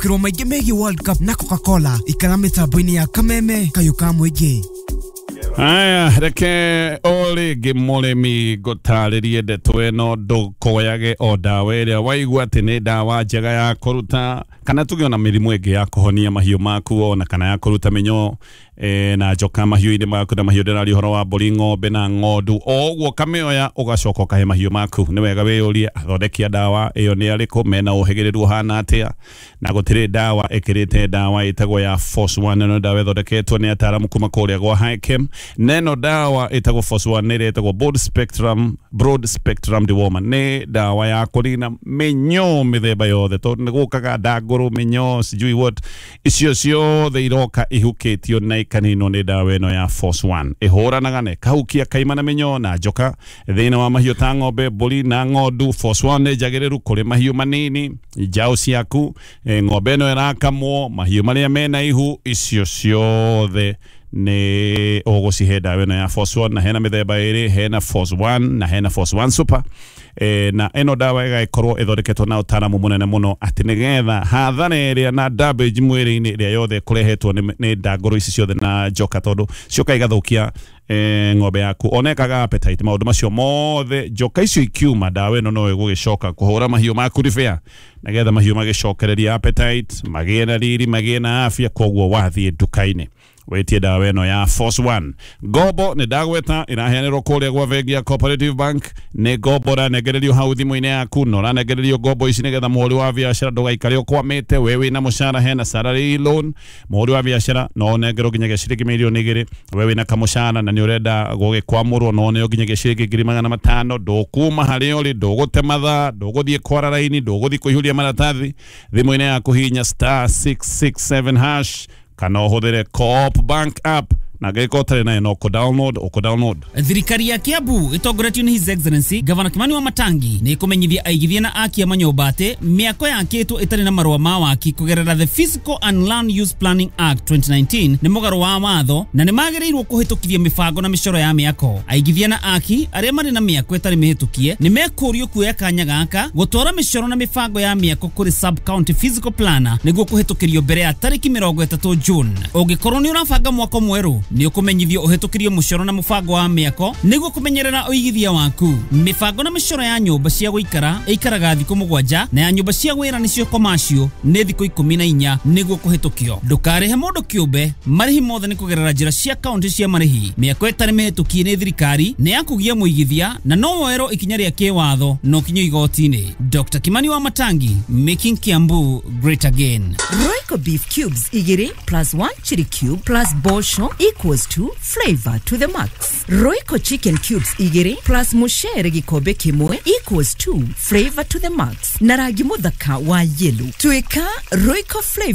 Kirwo maingĩ megiĩ World Cup na Coca-Cola ikara mĩtambo-inĩ ya Kameme kayũ ka mũingĩ. Aya, reke o rĩngĩ mũrĩmi ngũtarĩrie ndeto ĩno, ndũkoyage o ndawa ĩrĩa waigua atĩ nĩ ndawa njega ya kũruta kana tuge ona mĩrimũ ĩngĩ ya kũhonia mahiũ maku ona kana ya kũruta mĩnyoo na njoka mahiũ-inĩ maku na mahiũ ndĩraria ũhoro wa mbũri, ng'ombe na ng'ondu. O ũguo ũkamĩoya ũgacoka ũkahe mahiũ maku. Nĩ wega wĩyũrie athondeki a ndawa ĩyo nĩ arĩkũ, mena ũhĩgĩrĩru ũhana atĩa, na gũtirĩ ndawa ĩkĩrĩte ndawa ĩtagwo ya Force One. Ĩno ndawa ĩthondeketwo nĩ ataaramu kuma kũrĩa gwa Hichem, na ĩno ndawa ĩtagwo Force One nĩ ĩrĩa ĩtagwo broad spectrum dewormer. Nĩ ndawa ya kũnina mĩnyoo mĩthemba yothe, tondũ nĩ gũkaga ndangũrũ, mĩnyoo, sijui what, icio ciothe iroka ihukĩtio na ikaninwo nĩ ndawa ĩno ya Force One. Ĩhũranaga na ĩkahukia kaima na mĩnyoo na njoka thĩinĩ wa mahiũ ta ng'ombe, mbũri na ng'ondu. Force One nĩ njagĩrĩru kũrĩ mahiũ manini, njaũ ciaku, ng'ombe ĩno ĩrakamwo, mahiũ marĩa mena ihu, icio ciothe nĩ ũgũcihe ndawa ĩno ya Force One. Na hena mĩthemba ĩrĩ, hena Force One na hena Force One Super. Na ĩno ndawa ĩgagĩkorwo ĩthondeketwo na ũtaaramu mũnene mũno atĩ nĩgetha hathara ĩrĩa na damage mwĩrĩ-inĩ ĩrĩa yothe ĩkũrehetwo nĩ ndangũrũ ici ciothe na njoka, tondũ cioka igathũkia ng'ombe yaku, ona ĩkaga appetite, maũndũ macio mothe njoka icio ikiuma, ndawa ĩno no ĩgũgĩcoka kũhũra mahiũ maku repair nĩgetha mahiũ magĩcokererie appetite, magĩe na riri, magĩe na afya. Koguo wathiĩ nduka-inĩ wĩtie ndawa ĩno ya Force One. Ngombo nĩ ndagweta ĩraheanĩrwo kũrĩa gwa bengi ya Cooperative Bank. Nĩ ngombo ũranengererio hau thimũ-inĩ yaku, na ũranengererio ngombo ici nĩgetha mũhũri wa biacara ndũgaikare ũkwamĩte. We wĩna mũcara, hena salary loan. Mũhũri wa biacara no ũnengerwo nginyagia ciringi mirioni 2. We wĩna kamũcara na nĩ ũrenda gũgĩkwamũrwo, no ũneo nginyagia ciringi 500,000. Ndũkuma harĩa ũrĩ, ndũgũte mathaa, ndũgũthiĩ kwara raini, ndũgũthiĩ kũihũria maratathi. Thimũ-inĩ yaku hihinya *667# kana ũhũthĩre Co-op Bank app, na angĩkorwo ũtarĩ nayo no kũ-download ũkũ-download. Thirikari ya Kiambu ĩtongoretio nĩ His Excellency Gavana Kimani wa Matangi nĩ ĩkũmenyithia aigithia na aki a manyũmba atĩ mĩako yakĩtwo ĩtarĩ na marũa ma waki kũgerera the Physical and Land Use Planning Act 2019 nĩ mũgarũ wa watho na nĩ magĩrĩirwo kũhĩtũkithia mĩbango na mĩcoro ya mĩako. Aigithia na aki arĩa marĩ na mĩako ĩtarĩ mĩhĩtũkie nĩ mekũrio kuoya kanya gaka gũtwara mĩcoro na mĩbango ya mĩako kũrĩ sub county physical planner nĩguo kũhĩtũkĩrio mbere ya tarĩki 30 June. Ũngĩkorwo nĩ ũrabanga mwako mwerũ, nĩ ũkũmenyithio ũhĩtũkĩrio mũcoro na mũbango wa mĩako nĩguo kũmenyerera ũigithia waku. Mĩbango na mĩcoro ya nyũmba cia gũikara ĩikaraga thikũ 7 na ya nyũmba cia wĩra nĩcio commercial nĩ thikũ 14 nĩguo kũhĩtũkio. Ndũkarĩhe mũndũ kĩũmbe, marĩhi mothe nĩ kũgerera njĩra cia kaunti cia marĩhi. Mĩako ĩtarĩ mĩhĩtũkie nĩ thirikari nĩ ya kũgia mũigithia na no woerwo ikinya rĩa kĩwatho na ũkinyio igoti-inĩ. Dr. Kimani wa Matangi, making Kiambu great again. Royco beef cubes 2 plus 1 chili cube plus bosho equals to flavor to the max. Royco chicken cubes 2 plus mushere gikombe kimwe equals to flavor to the max. Na rangi muthaka wa yellow. Tuika Royco flavor.